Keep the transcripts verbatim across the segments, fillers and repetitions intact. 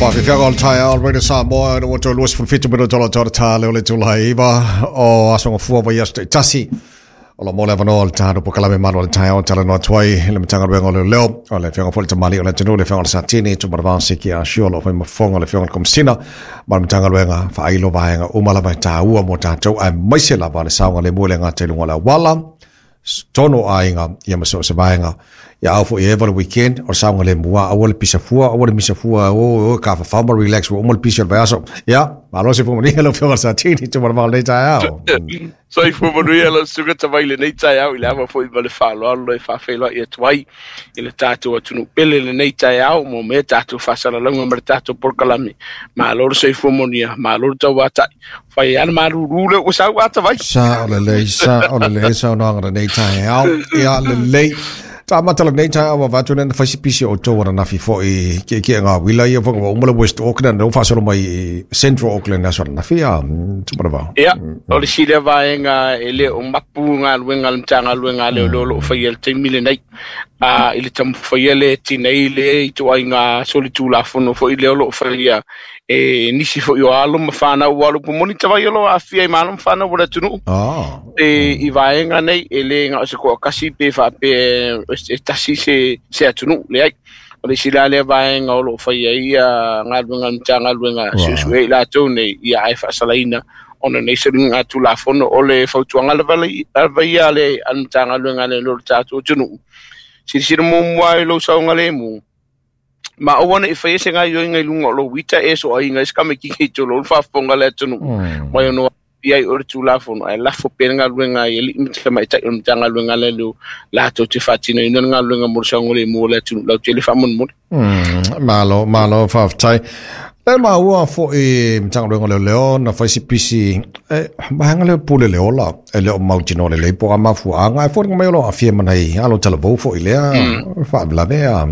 Whawhiwhianga o le taeao, Radio Samoa, na watu lua sefulu fitu minute o le tau tā leo le tula iwa o asonga fua vai aso tasi. O la mole avanoa le tānu po kalame manu o le taeao tala noa tuai le matanga ruenga o le leo o le whianga fo le tamali o le tanu le whianga o le satini tu maravao siki a shio lo whai mafonga le whianga o le komisina ma le matanga ruenga whailo vaenga umalama e tāua mo tātou ai maise lava le saunga le mua le ngā te lunga le wala tono aiga ia ma so se vaenga ia au fo i le weekend o saunga le mua au le pisa fua au le misa fua o o ka fa fa relax o mo le pisa le aso ia malo se fo ni le fio sa tini tu ma le ta au so i fo ni le suga ta vai le nei ta au ile ava fo i le fa lo lo fa fe lo ia tuai ile tatou atunu pele le nei ta au mo me tatou fa sala longa ma tatou por kalami malo se fo monia malo ta wata fai ana maru rule o sa wata vai sa o le le sa o le le sa no ngara nei ta au ia le le ta matala nei ta au va tuna fa si pisi o to wana na fi fo i ke ke nga wila ia fo o mo West Auckland no fa solo mai Central Auckland na solo na fi a tu para va ia o le sile vaenga ele o mapu nga luenga mtanga luenga le lo lo fa il te mile nei a ile tam fa ile tinei le to ai nga solitula fono fo ile lo fa ia e nisi fo yo alo mafana o alo moni vai lo afia i malo mafana o tunu ah e i vaenga nei ele nga se ko kasi pe fa pe e tasi se se atunu le ai o le sila le vaenga o lo fa ia nga luenga mtanga luenga su su e la tone ia ai fa salaina ona nei se nga tula fono o le fautuanga le vale ia le mtanga luenga le lo tatu tunu si si mo mo lo saunga le mu ma o wana i whaese ngai yo ngai lunga lo wita e so ai ngai skame ki ki tolo fa fonga le tunu mai no ia o tula fono ai la fo penga luenga i li mtsa mai tai mtanga luenga le lo la to te fatina ina nga luenga mo sango le mo le tunu la tele fa mon mon malo malo fa tai le ma ua fo e mtanga luenga le leo na fa si pisi e ba le pule le ola e le o mautino le le po ama fu anga e fo ngai lo afie manai alo tala vo fo ile fa la vea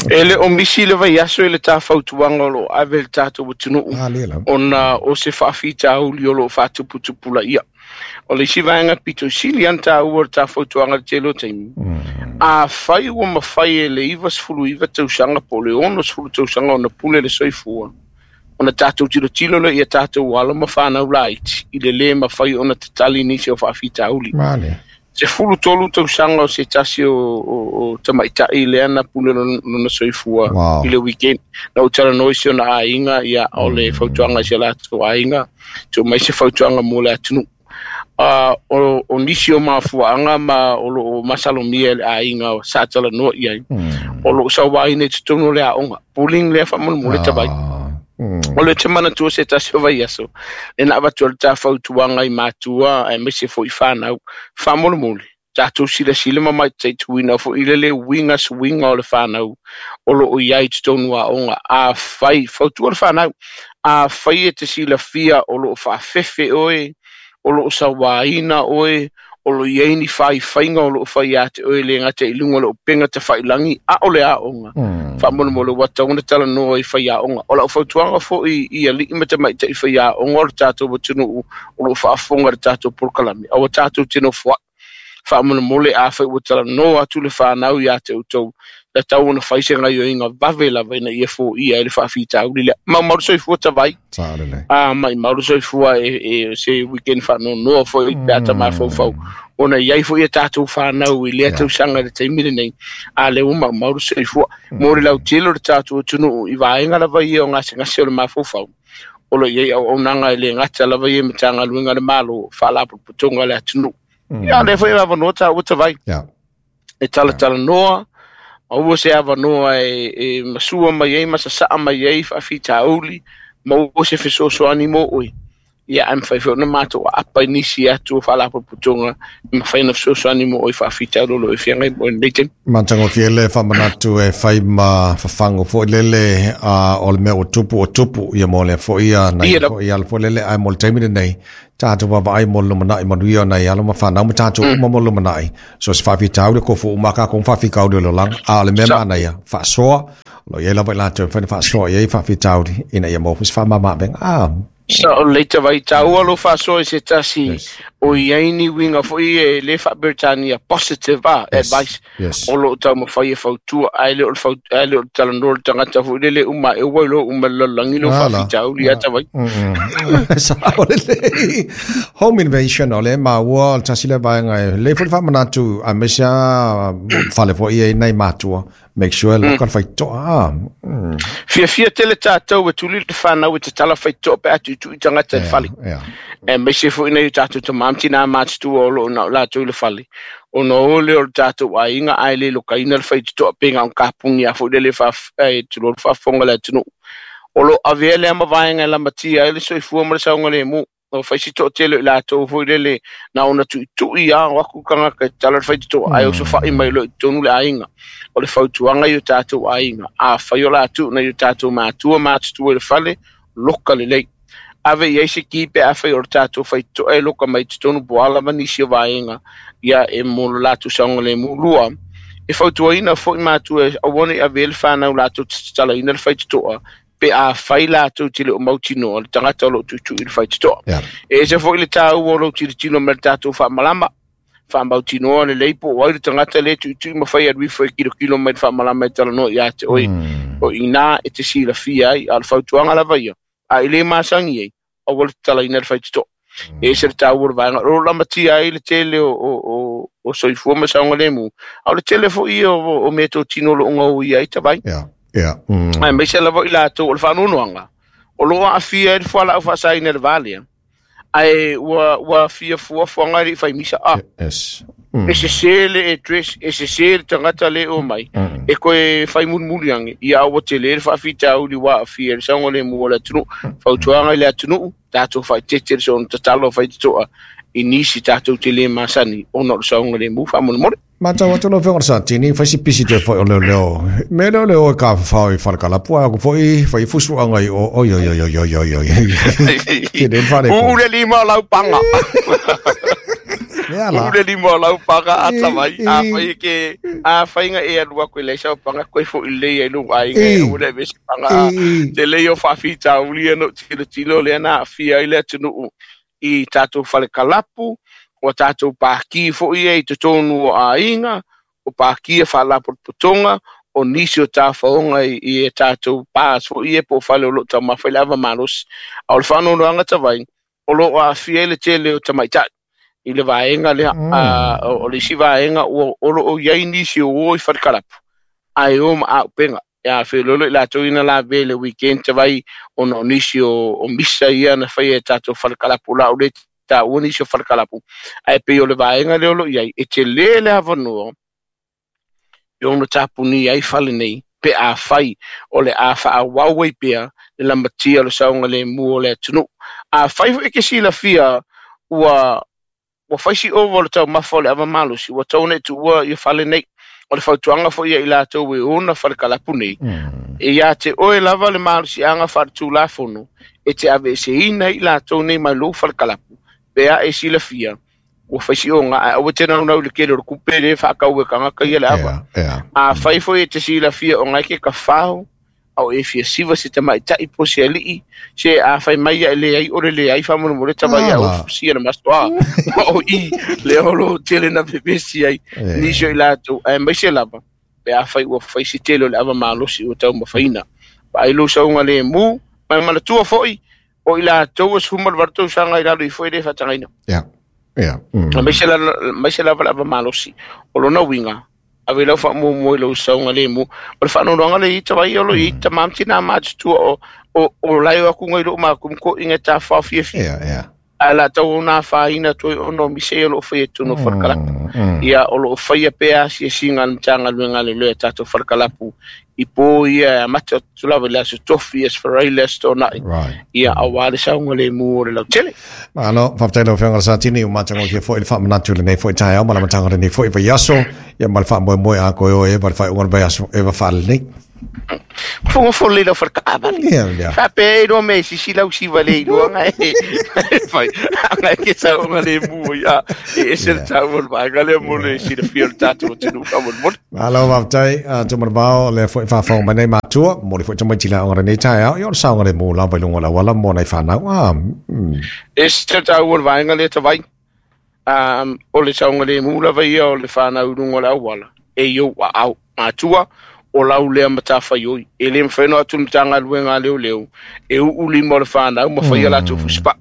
ele o misi le vai aso ele ta fautuanga lo ave tato tunu ona o se fa fita o lo fa tupu tupula ia o le sivainga pito sili anta o ta fautuanga telo team a fai o ma fai ele iva sfulu iva tau sanga po le ono sfulu tau sanga ona pule le soifua ona tatou tilo tilo le ia tatou alo ma whanau lait i le le ma fai ona tatali nisi o whaafita uli. Male. Se fulu tolu tau sanga o se tasi o, o, o tamaitai le ana pule lona soifua wow. I le weekend. Na utara noisi ona ainga ia o le fautuanga se latou ainga tu mai se fautuanga mo le atunu. Uh, o, o nisi o mafuaanga ma o lo masalomia le ainga o sa tala noa iai. Mm. O lo sawaine tonu le aonga. Puling le whamon mo le tawai. Mm. O le te mana tua se tasi o vai aso. E na avatu le tā fautuanga i mātua e mese fo i whanau. Whamolomole. Tātou sila sila ma mai te tuina fo i lele winga swinga o le whanau. O lo o iai te tonu a onga. A whai, fautua le whanau. A whai e te sila fia o lo o whaafefe oe. O lo o sawaina oe. O lo iai ni whai whainga o lo o whai ate oe le ngā te ilunga lo o penga te whailangi. A o le a onga. Mm. Whamolomole wata ona tala noa i whai a onga. O lau fautuanga fo i, i ali ima te mai te i whai a onga o le tātou watunu o lo whaafonga le tātou porkalami. Awa tātou tino fwa. Whamolomole a whai watala noa atu le whanau i a te utou. Le tau ona whaise ngai o inga vave lava ina ia fo ia e le whaafita uli lea. Ma maru soifua tawai. Saalele. Ah, mai maru soifua e, e se weekend whano noa fo i peata mm. mawhaufau. Ona iai fo ia tātou whanau i lea yeah. Tau sanga le teimire nei. A le uma maru soifua. Mm. Mori lau tilo le tātou tunu i vaenga lava ia o ngase ngase o le mawhaufau. Olo iai au aunanga i le ngata lava ia matanga luenga le malo whalapuputonga le atunu. Mm. Ia le fo ia lava noa tā utawai. Yeah. E tala tala noa. Aua se avanoa e, e masua mai ai, masasaa mai ai, whaafita uli, ma ua se fesoasoani mo oe. Ia ai mwhai whio na mātou a apa nisi atu o whalapopotonga, ma whai na fesoasoani mo oe whaafita uli lo e whiangai mo e nei temi. Mantango fiele whamanatu e whai ma whawhango fo lele a o le mea o tupu o tupu ia mo le fo ia na ia fo ia fo lele ai mo le taimi nei. Tātou wawa ai mo lumanai manuia nei alo ma whanau ma tātou uma mo lumanai. So se whawhita ule ko fo umaka kong whawhika ule lo lang a le mea mana ia whasoa lo ia lava i lātou whaina whasoa ia i whawhita ule ina ia mo fos whamama venga. Ah. Sa o leita vai tāua lo whasoa i se tasi yes. O i ai ni uiga foi e lē faaperetania positive a advice o loo taumafai e fautua ae le o le ae le o le talanoa le tagata foi lele uma e ua iloa uma le lalolagi lou faafitauli a tavai. Sao lelei. Home invasion o le maua o le tasi lea vaega e lelei foi le faamanatu aemaise a fale foi ia i nai matua. Make sure loka le faitoa. Fiafia tele tatou e tuli le fanau e tatala faitoa pe a tuitui tagata i le fale. Aemaise foi nei o tatou tamā ma tinā matutua o loo na o latou i le fale. Ona o lea o le tatou aiga ae le lokaina le faitotoa pe ga o kapugi a foi lele tulou le faafofoga le atunuu. O loo avea lea ma vaega e lamatia ai le soifua ma le saogalemu. O faisi toatele i latou foi lele na ona tuitui a o aku tagata e tatala le faitotoa ae osofai mai loa i totonu le aiga. O le fautuaga i o tatou aiga. Afai o latou nai o tatou matua matutua i le fale, loka lelei. Ave i ai se ki pe afai o le tatou faitotoa e loka mai totonu po o a lava nisi o vaega ia e mo le latou saogalemu. Lua, e fautuaina foi matua e aua nei avea le fanau latou te tatalaina le faitotoa pe afai latou te le o mautinoa le tagata o loo tuitui i le faitotoa. E ese foi le taua o lou tilotilo ma le tatou faamalama. Faamautinoa lelei po o ai le tagata lē tuitui ma fai alu ifo e kilokilo mai le faamalama e talanoa ia te oe. O inā e te silafia ai a o le fautuaga lava ia. A i lē masagi ai, aua le tatalaina le faitotoa. E ese le taua o le vaega. O loo lamatia ai le tele o, o, o, o soifua ma saogalemu. A o le tele foi ia o, o meatotino o loo gauia ai tavai. Yeah. Yeah. Mm. Aemaise lava i latou o le faanoanoaga o loo aafia ai le fualaau faasaina i le va lea. Ae ua ua fia fuafuaga e lei faimisa a. Yes. Mm. E sesē le address, e sesē le tagata lē o mai. Mm. E koe faimulimuli age ia aua telē le faafitauli ua aafia i le saogalemu o le atunuu. Fautuaga i le atunuu, tatou faaetete le soona tatalo faitotoa i nisi tatou te lē masani ona o le saogalemu faamolemole. Matau atu lau afioga i le Satini, fai si pisi toe foi o leoleo. Mea lea o le o e kafafao i falekalapu, a aku foi fai fusuaga i o, oi oi oi oi oi oi oi. Tele le fale Uu le lima o lau paga. Mea la. Uu le lima o lau paga a tavai. E, A e. fai ke a faiga e alu aku i leai sau paga koe foi lelei ai lou aiga e E. aua le avea se paga. E, e. Tele ia o faafitauli ia na ou tilotilo lea na aafia ai le atunuu i tatou falekalapu, o tatou pāki foi ia i totonu o aiga, o pāki e faalapotopotoga, o nisi o tafaoga i, i e tatou bars foi ia po o fale o loo taumafa i le ava malosi. A o le faanoanoaga tavai, o loo aafia ai le tele o tamaitai i le vaega lea. Mm. A, o, o le isi vaega ua o loo iai nisi o o i falekalapu, ae o ma auupega. Ia feoloolo i latou ina lavea i le weekend tavai ona o nisi o, o misa ia na faia e tatou falekalapu la o le taua nisi o falekalapu. Ae pei o le vaega lea o loo iai, e telē le avanoa e ono tapunia ai fale nei pe afai o le a faaauau ai pea le lamatia o le saogalemu o le atunuu. Afai foi e ke silafia ua ua fai si ova o le taumafa o le ava malosi, ua tau ona e tuua ia fale nei. O le fautuaga foi ia i latou e ona falekalapu nei. Mm. E ia te oe lava le malosiaga faaletulafono e te aveeseina ai i latou nei mai lou falekalapu pe a e silafia ua fai si oga ae aua te naunau i le kele o le kupe lē faakau e tagata ia le ava. Yeah, yeah. Afai foi e te silafia o gae ke kafao ao e fia siva se tamaitai po se alii se afai mai ia e leai o le leai faamolemole tavai Ah, a la. ofusia le masoa o i le olo tele na pepesi ai nisi o E. i latou aemaise lava pe afai ua fai si tele o le ava malosi ua taumafaina. Vaai lou saogalemu ma manatua foi o i latou e sefulu ma le valu tausaga i lalo ifo e lē faatagaina. Yeah. Yeah. Mm. Aemaise la aemaise lava le ava malosi. O lona uiga ave lau faamuamua i lou saogalemu. O le faanoanoaga le i tavai o lo i tamā ma tinā matutua o o o lae o aku ngai loo makumu koʻiga e tafafao fiafia. Yeah, yeah. Ae la tau ona afaina atu ai ona o mise ia o loo faia i totonu o falekalapu. Mm, mm. Ia o loo faia pea asiasiga a le Matagaluega a Leoleo e tatou falekalapu i po ia e amata atu lava i le aso tofi, aso Faraile, aso Toonai. Right. Ia auā le saogalemu o le lautele. Malo, faafetai lau afioga i le Satini, ua matagofie foi le faamanatu i lenei foi taeao ma le amataga o lenei foi vaiaso, ia ma le faamoemoe a koe o e ma le faaiuga o le vaiaso e va faalenei. Fogafolo lei lau falekaavale. Ia, ia. Faapea e iloa mea e sisi lau siva le iloaga e fai aga e ke saogalemu ai a e ese le Yeah. taua o le vaega lea mo le silafia o le tatou atunuu faamolemole. Malo, faafetai, uh, Tumanavao, lea foi faafofoga mai nei matua, momoli foi tamaiti i le aoga lenei taeao, ia o le saogalemu lava i luga o le auala mo nai fanau. Ah, mm. E ese le taua o le vaega lea tavai. Um, o le saogalemu lava ia o le fanau i luga o le auala e i ou aao matua o lau lea matafaioi e lē mafai ona atu le Matagaluega a leoleo e uu lima o le fanau ma faia latou fusipaa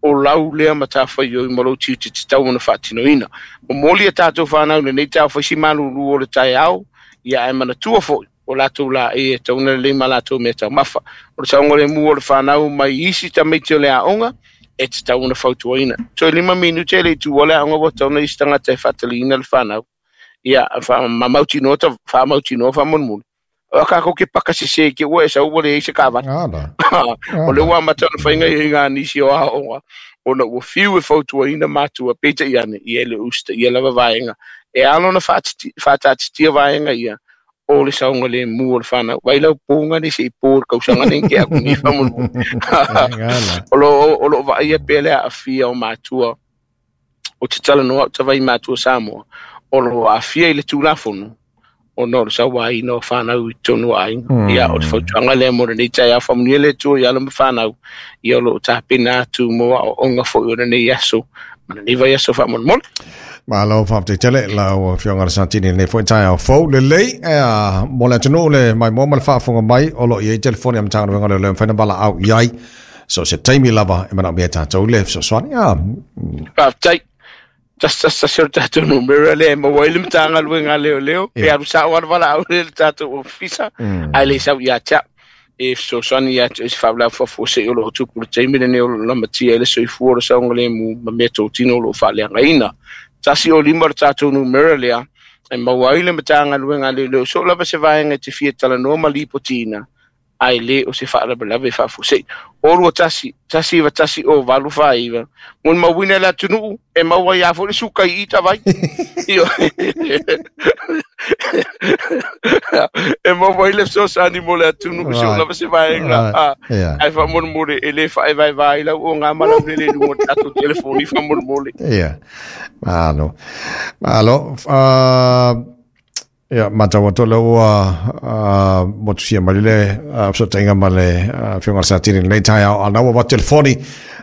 o lau lea matafaioi ma lou tiute tatau ona faatinoina. Momoli a tatou fanau lenei taeao faisi malulu o le taeao ia ae manatua foi o latou laei e tauna lelei ma latou mea taumafa. O le saogalemu o le fanau mai isi tamaiti o le aoga e tatau ona fautuaina. Toe lima minute e le i tuua le aoga ua tauna isi tagata e faataliina le fanau. Ia faamautinoa ta faamautinoa faamolemole. O kākou ke paka sese ke ua e sau ua leai se kaavale. O le ua amata ona faiga i ngā nisi o aoga ona ua fiu e fautuaina matua peitai ane ia e le usitaia lava vaega. E ala ona faataatitia vaega ia o le saogalemu o le fanau. Vai lau pōga nei se i pō le kausaga nei ke aku nei faamolemole. O loo vaaia pea le aafia o matua o te talanoa au tavai matua Samoa o loo aafia i le Tulafono ona o le sauaina o fanau i totonu o aiga. Ia o le fautuaga lea mo lenei taeao faamanuia le Atua i alo ma fanau ia o loo tapena atu mo aoaoga foi o lenei aso ma lenei vaiaso faamolemole. Malo faafetai tele lau Afioga i le Satini i lenei foi taeao fou lelei ea mo le atunuu le maimoa ma le faafofoga mai o loo i ai telefoni a Matagaluega o Leoleo e mafai ona valaau i ai so se taimi lava e manaomia e tatou le fesoasoani. Faafetai. Tasi tasi tasi o le tatou numera lea e maua ai le Matagaluega a Leoleo pe alu sao lava le valaau lea i le tatou ofisa ae le sau ia te au e fesoasoani ia te oe i se faalavelave faafuasei o loo tupu i le taimi lenei o loo lamatia ai le soifua o le saogalemu ma mea totino o loo faaleagaina. Tasi o lima le tatou numera lea e maua ai le Matagaluega a Leoleo so lava se vaega e te fia talanoa ma lipotiina ae lē o se faalavelave faafuasei. O lua tasi, tasi iva tasi o valu faaiva. Mo le mauina e le atunuu e maua ai lava foi le suka i i tavai. E maua ai le fesoasoani mo le atunuu se o lava se vaega ae faamolemole e lē faaevaevā ai lau oga ma lau lele i luga o le tatou telefoni faamolemole. Ia, malo. Malo. Ia, matau atu lea ua motusia mai le fesootaiga ma le Afioga i le Satini i lenei taeao. A na ua avatu telefoni,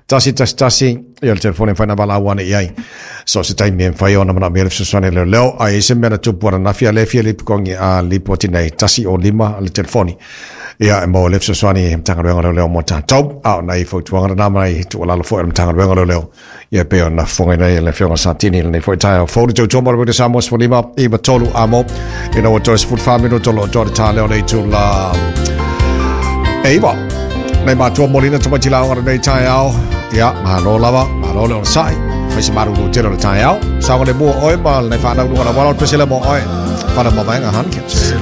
tasi tasi tasi, ia le telefoni e mafai ona valaau ane i ai. So se taimi e mafai ona manaomia le fesoasoani a leoleo, a i ai se mea na tupu ananafi a lea e fia lipokogi a lipoti nei, tasi o lima le telefoni. Ia, e maua le fesoasoani Matagaluega o Leoleo mo tatou. A o nai fautuaga lena ma nai tuualalo foi a le Matagaluega o Leoleo. Ia pei ona fofogaina ai e le Afioga Satini i lenei foi taeao fou le tautua mo le Wita Samoa sefululima iva tolu amo ina ua toe sefulufa minuto o loo toa le tā lea o le itula e iwa. Nei matua molina tamaiti laoga lenei taeao. Ia, malo lava, malo le onosai. Fai se marulu tele o le taeao. Saogalemu o oe ma lenei whanau luga la wala o le pesele mo oe. Whana mamaenga Hankins.